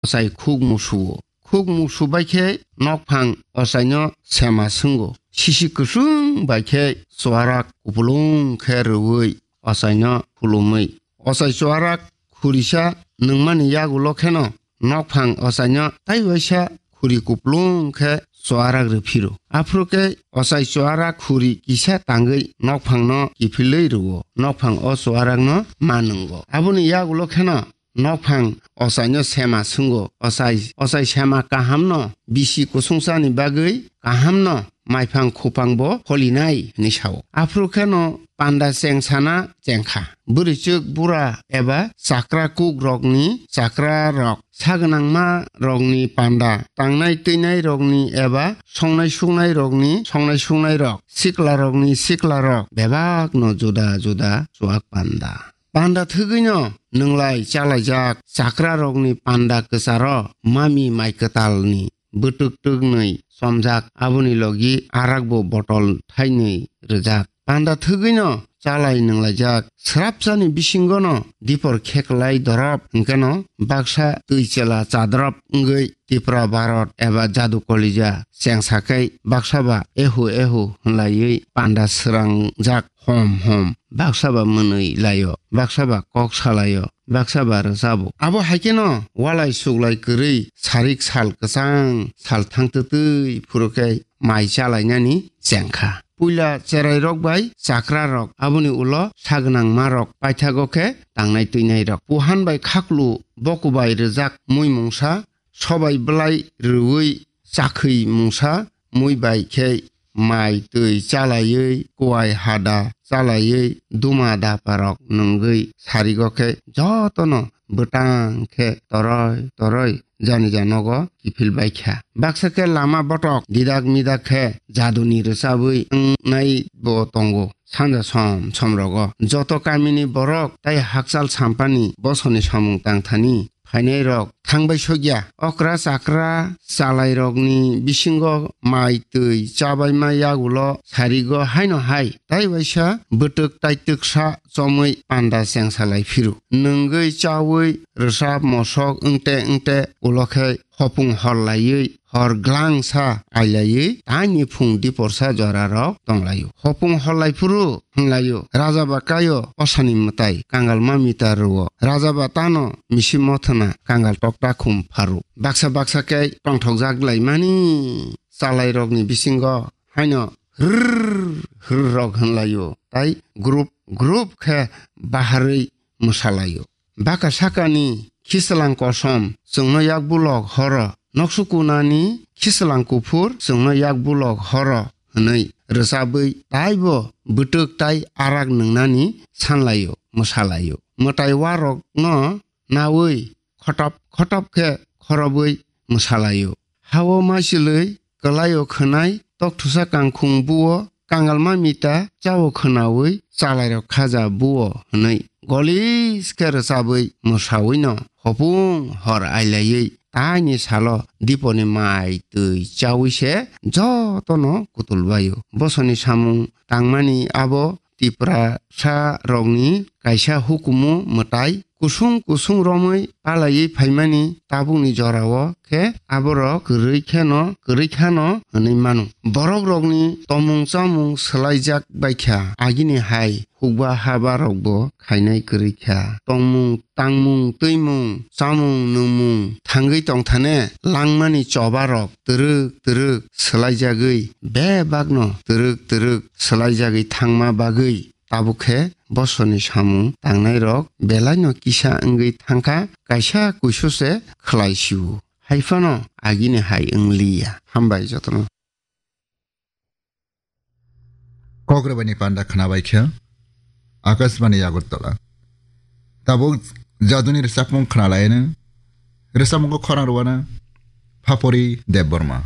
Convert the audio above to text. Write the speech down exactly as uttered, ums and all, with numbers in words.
ochai khuk musuo. Khuk musu bai khe nokphang ochaino sema swngo. Sisi kwchwng bai khe chuarak kupulung khe rwui ochaino khulumui. Ochai chuarak khurisa nungmani yagulo kheno nokphang ochaino tai waisa khuri kupulung khe chuarak rw phiro. Aphuru khe ochai chuarak khuri kisa tangwi nokphangno kiphilwi rwo. Nokphang o chuarakno ma nungo. Aboni yagulo kheno nokphang ochaino sema swngo. Ochai, ochai sema kahamno bisi kusungsani bagwi kahamno maiphang khupangbo holinai hwnwi sao. Aphuru kheno panda chengsana chengkha. Bwrwichwk bura eba chakra kuk rokni chakra rok, sagwnangma rokni panda, tangnai twinai rokni eba songnai suknai rokni songnai suknai rok, sikla rokni sikla rok bebakno juda juda chuak panda. Panda thwgwino nwnglai chalaijak chakra rokni panda kwcharo mami mai kwtalni bwtwk twknwi chomjak, aboni logi arakbo botol thainwi rwjak. Panda thwgwino chalai nwnglaijak. Srapsani bisingono dipor kheklai dorop hwnkeno baksa twi chela chadrop wngwi Tipra Bharot eba Jadu Kolija chengsakhai baksa ba ehu ehu hwnlaiwi panda swrangjak hom hom, baksa ba mwnwi laio, baksa ba kok salaio, baksa ba rwchabo. Abo hai kheno walai suklai kwrwi sarik sal kwchang sal thangtwtwi phuru khe mai chalainani chengkha. Puila cherai rok bai chakra rok, aboni ulo sagwnangma rok, paithago khe tangnai twinai rok. Puhan bai khaklu boku bai rwjak mui mungsa, sobai bwlai rwui chakhwi mungsa, mui bai khe mai twi chalaiwi, kuai hada chalaiwi, duma dapa rok nungwi sarigo khe jotono bwtang khe toroi toroi jani janogo kiphil baikha. Baksa khe lama botok didak midak khe jaduni rwchabwi wngnai bo tongo. Sanja som som rogo joto kamini borok tai hakchal sampani bosoni samung tangthani phainai rok thangbai sokya. Okra chakra chalai rokni bisingo mai twi chabaima yagulo sarigo haino hai tai waisa bwtwk tai twksa chomwi panda chengsalai phiru. Nwngwi chawi rwchap mosok wngte wngte ulo khe hopung hor laiwi hor glangsa ailaiwi taini phung diporsa jorarok tonglaio. Hopung hor lai phuru hwnlaio, "Raja ba kaio osani mwtai kangal ma mita rwo, raja ba tano misi mothana kangal tokta khum pharu." Baksa baksa khe tongthokjak laimani chalairokni bisingo haino hrrr hrrrok hwnlaio, tai group group khe baharwi mwsalaio. Baka sakani khichwlang kosom chwngno yak bulok horo, noksukunani khichwlang kuphur chwngno yak bulok horo hwnwi rwchabwi taibo bwtwk tai arak nwngnani sanlaio, mwsalaio. Mwtai warokno nawi khotop khotop khe khorobwi mwsalaio. Hao maichwlwi kwlaio khwnai, tokthusa kangkhung buo, kangalma mita chao khwnaui chalairok khaja buo hwnwi golis khe rwchabwi mwsawino hopung hor ailaiwi taini salo diponi mai twi chaui se jotono kutulbaio. Bosoni samung tangmani abo Tiprasa rokni kaisa hukumu mwtai kusung kusung romwi palaiwi phaimani tabukni jorao khe aborok kwrwi kheno, kwrwi khano hwnwi mano. Borok rokni tomung chamung swlaijak baikha, agini hai hukba haba rokbo khainai kwrwi kha. Tongmung, tangmung, twimung, chamung, nwngmung thangwi tongthane langmani choba rok twrwk twrwk swlaijagwi bebakno twrwk twrwk swlaijagwi thangma bagwi tabuk khe bosoni samung tangnairok belaino kisa wngwi thangkha, kaisa kuisu se khlai sio. Hai phano agini hai wng liya. Hambai jotono. Kok rwbaini panda khwnabai khe Akashbani Agartala. Tabuk jaduni rwchapmung khwnalaino. Rwchapmungo khorang rwano Phapori Debbarma.